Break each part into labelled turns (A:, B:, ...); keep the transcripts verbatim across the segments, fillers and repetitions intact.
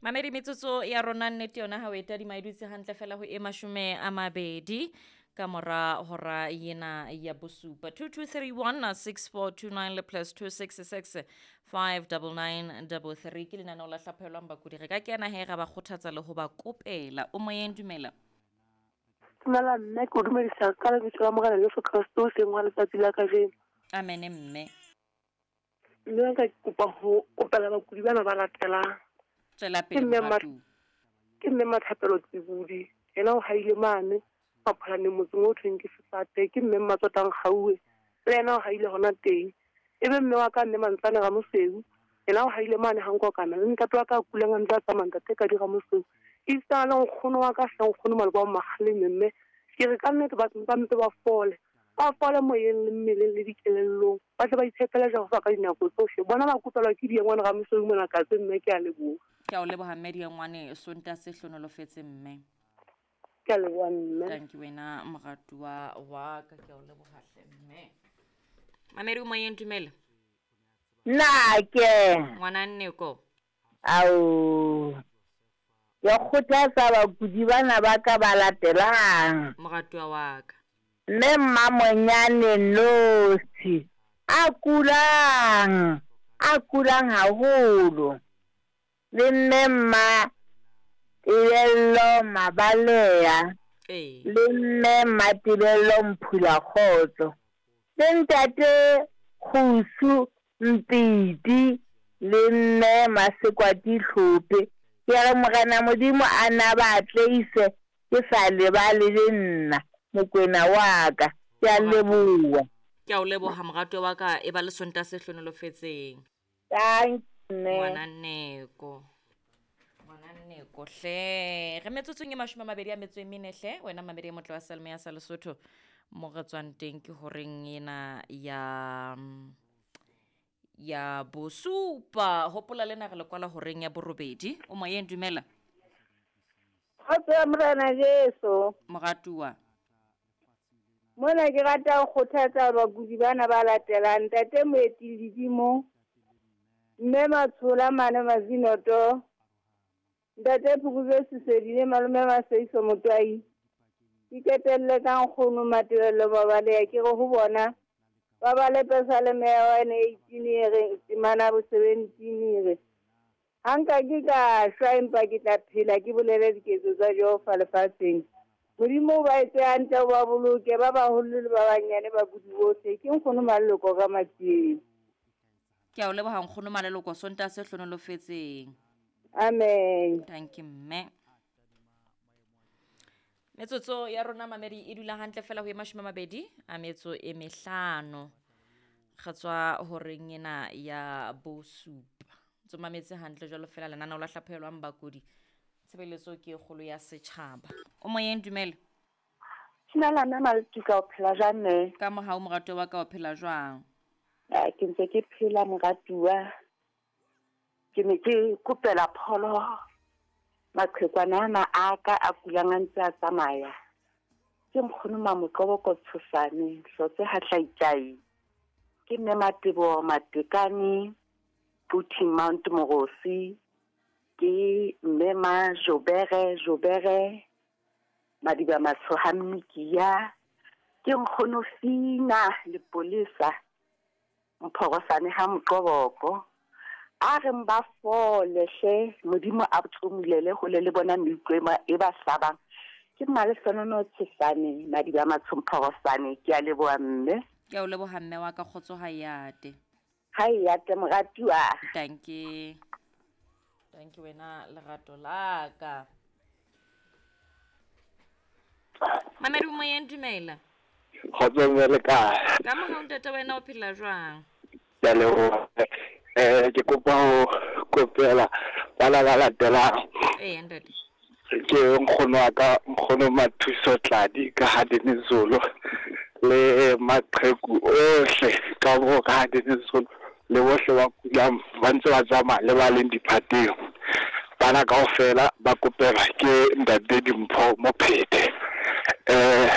A: Mamedi, metsotso ya rona nnete yona ha o e tadima e dutse hantle fela ho e mashome a mabedi ka mora hora yena ya bosupa. two two three one six four two nine le plus two six six five double nine double three ke lenaneo la hlaphohelwang bakudi. Re ka kena he ra ba kgothatsa le ho ba kopela. O moyeng, dumela.
B: Dumela mme, ke o dumedisa ka lebitso la Morena Jesu Kreste o seng wa letsatsi la kajeno.
A: Amen mme.
B: Mme ka kopa ho kopela bakudi bana ba latelang.
A: Tswela pele moratuwa.
B: Ke mme Mathapelo Tsibudi, yena o haile mane Mapholaneng motseng o thweng ke Sefate. Ke mme Mmatsotang Gauwe, le yena o haile hona teng. Ebe mme wa ka mme Mantsane Ramoseu, yena o haile mane Hankokana, le ntate wa ka a kulang a ntse a tsamaya ntate Kadi Ramoseu. Esita le nkgono wa ka hle nkgono Maloko wa Makgaleme mme ke re ka nnete ba ba mpe ba fole. Ba fole moyeng le mmeleng le dikelellong. Ba tle ba itshepele Jehova ka dinako tsohle. Bona ba kopelwa ke Diengwane Ramoseu mona Katse mme ke a leboha.
A: Ke a o leboha mme Diengwane, Sontaha se hlonolofetse mme.
B: Ke a leboha mme.
A: Thank you wena moratuwa wa ka, ke a o leboha hle mme. Mamedi o moyeng, dumela.
C: Nna ke
A: ngwana Nneko.
C: Ao. Ke kgothatsa bakudi bana ba ka ba latelang.
A: Moratuwa wa ka.
C: Mme Mmamonyane Nosi a kulang, a kulang haholo. Le mme Mma Tebello Mabalea.
A: Ee.
C: Le mme Mmatebello Mphula Kgotso. Le ntate Kgusu Mpiti le mme Masekwati Tlhope. Ke re Morena Modimo a na ba atleise ke sa lebale le nna Mokwena wa ka. Ke a leboha.
A: Ke a o leboha moratuwa wa ka, e ba le Sontaha se hlonolofetseng.
C: Thank you.
A: Ngwana Nneko. Ngwana Nneko hle. Re metsotsong e mashome a mabedi a metso e mene hle. Wena mamedi e motle wa Salme ya sa Lesotho. Mo re tswang teng ke horeng ena ya ya bosupa. Hopola lena re le kwala horeng ya borobedi. O moyeng, dumela.
C: Kgotso ya Morena Jesu.
A: Moratuwa.
C: Mona ke rata ho kgothatsa bakudi bana ba latelang. Ntate Moeti Ledimo, mme Matshola mane Mazinoto, ntate Phukubye Sesedile, malome Maseiso Motwai. Ke qetelle ka nkgono Matebello Mabalea. Ke re ho bona ba bale Pesaleme ya one eighteen e reng temana bo seventeen e re ha nka ke ka shwa empa ke tla phela ke bolele diketso tsa Jehova lefatsheng. Modimo o ba etse hantle, o ba boloke, ba baholo le ba banyane bakudi bohle. Ke nkgono Maleloko ka Matsieng.
A: Ke a o leboha nkgono Maleloko, Sontaha se hlonolofetseng.
C: Amen.
A: Thank you mme. Metsotso ya rona mamedi e dula hantle fela ho e mashome a mabedi a metso e mehlano. Re tswa horeng ena ya bosupa. Ntso mametse hantle jwalo fela lenaneo la hlaphohelwang bakudi. Tshebeletso ke e kgolo ya setjhaba. O moyeng, dumela.
B: Dumela mme Maltuka, o phela jwang mme?
A: Ka mohau moratuwa wa ka, o phela jwang?
B: Ah, ke ntse ke phela moratuwa. Ke ne ke kopela pholo maqhekwana ana a ka a kulang a ntse a tsamaya. Ke nkgono Mamoqoboko Tshosane, Hlotse Hatlaitjai. Ke mme Matebo Matekane, Puti Mount Morosi. Ke mme Ma Jobere Jobere, Madiba Matshoha Mmikia. Ke nkgono Fina Lepolesa, Mphorosane ha Moqoboko. A re mba fole hle, Modimo a tsomulele hole le bona meutlwa e ba, e ba hlabang. Ke Malehlonono Tshesane, Madiba Matsho Mphorosane. Ke a leboha mme.
A: Ke a o leboha mme wa ka, kgotso ha e ate.
C: Ha e ate moratuwa.
A: Thank you. Thank you wena lerato la ka. Mamedi moyeng, dumela.
D: Kgotso mme, le kae?
A: Ka mohau ntate, wena o phela jwang?
D: Ke a leboha. Eh, ke kopa ho kopela bana ba latelang.
A: Ee ntate.
D: Ke nkgono wa ka, nkgono Mathuso Tladi ka ha Dinizulu, le maqheku ohle ka bo ka ha Dinizulu, le bohle ba kulang ba ntse ba tsamaya le ba leng diphateng. Bana kaofela ba kopelwa ke ntate Dimpho Mophete. Eh,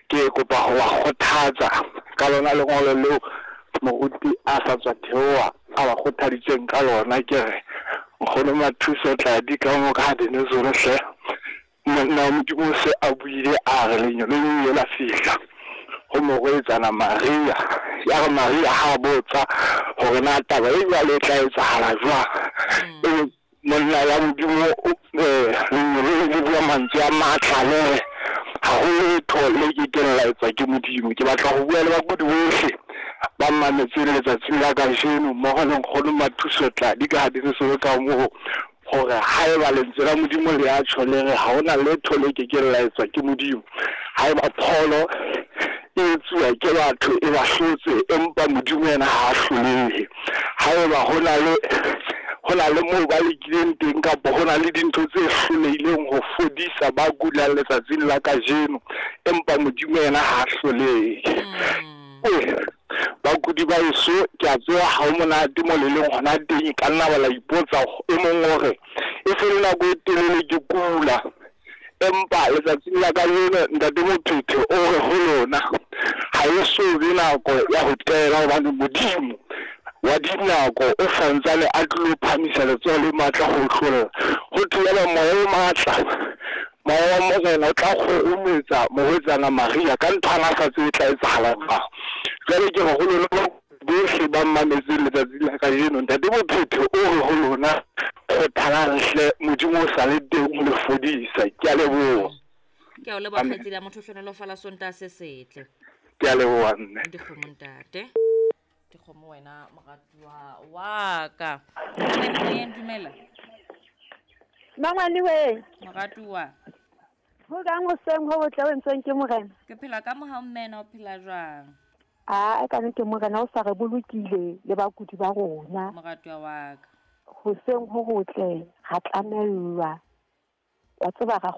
D: ke kopa ho ba kgothatsa ka lona lengolo leo moruti a sa tswa theoha a ba kgothaditseng ka lona. Ke re Nkgono Mathuso Tladi ka mo ka Denizolo hle. Monna wa Modimo o se a buile a re lenyalo le ile la fihla ho morwetsana Maria. Ya re Maria ha botsa hore na taba e jwalo e tla etsahala jwang. Ebe monna wa Modimo eh lenyalo le bua mantswe a matla le re ha ho letho le kekeng la etswa ke Modimo. Ke batla ho bua le bakudi bohle ba mametseng letsatsing la kajeno mmoho le nkgono Mathuso Tladi ka Denizolo ka moo hore haeba lentswe la Modimo le a tjho le re ha hona letho le kekeng la etswa ke Modimo. Haeba pholo e etsuwa ke batho e ba hlotse, empa Modimo yena ha a hlolehe. Haeba hona le hona le moo ba lekileng teng kapa hona le dintho tse hlolehileng ho fodisa ba kulang letsatsing la kajeno, empa Modimo yena ha a hlolehe. Eh, bakudi ba eso ke a tseba ha ho monate mo le leng hona teng, e ka nna ba la ipotsa e mong hore e se le nako e telele ke kula, empa letsatsing la kajeno ntate Mophethe o re ho lona ha e so be nako ya ho tela, hobane Modimo wa dinako o santsane a tlilo phamisa letsoho le matla ho hlolla. Ho thibela moya o matla, moya wa Morena o tla kgurumetsa morwetsana Maria ka ntho ana a sa tsebe e tla etsahala jwang. Jwale ke re ho lona bohle ba mametseng letsatsing la kajeno, ntate Mophethe o re ho lona kgothalang hle, Modimo o sa le teng ho le fodisa. Ke a leboha.
A: Ke a o leboha kgaitsedi ya motho, hlohonolofala Sontaha se setle.
D: Ke a leboha mme.
A: Dikgomo ntate. Dikgomo wena moratuwa wa ka. Moyeng dumela.
C: Mangwane we.
A: Moratuwa.
C: Ho kang hoseng ho botle o entsweng ke Morena?
A: Ke phela ka mohau mme na o phela jwang?
C: A ka ke Morena o sa re bolokile le bakudi ba rona.
A: Moratuwa wa ka.
C: Hoseng ho hotle ra tlamellwa. Wa tseba ra